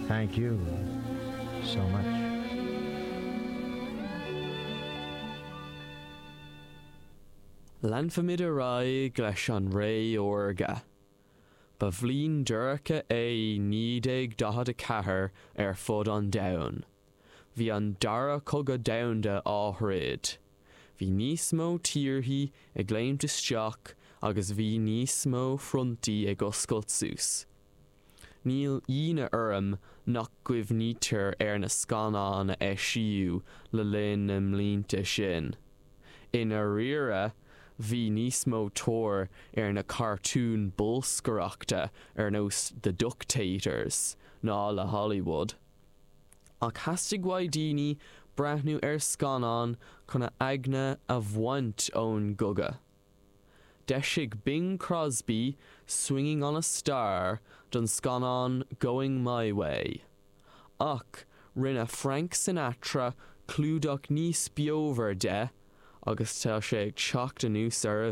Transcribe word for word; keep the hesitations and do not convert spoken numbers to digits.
Thank you so much. Leanfaimid ar aghaidh leis an ré órga. Ba bhliain dorcha é naoi déag daichead a ceathair ar fud an domhain. Bhí an Dara Cogadh Domhanda á throid. Bhí níos mó tíorthaí ag léimt isteach agus bhí níos mó frontaí ag oscailt suas. Níl ionadh orm nach gcuimhnítear ar na scannáin a eisíodh le linn na mblianta sin. I ndáiríre, bhí níos mó tóir ar na cartúin bolscaireachta ar nós The Ductators ná le Hollywood. Ach theastaigh uaidh daoine breathnú ar scannán chun a aigne a bhaint ón gcogadh. D'eisigh Bing Crosby Swinging on a Star don scannán Going My Way. Ach rinne Frank Sinatra clúdach níos beomhar de agus tá sé ag teacht anuas ar a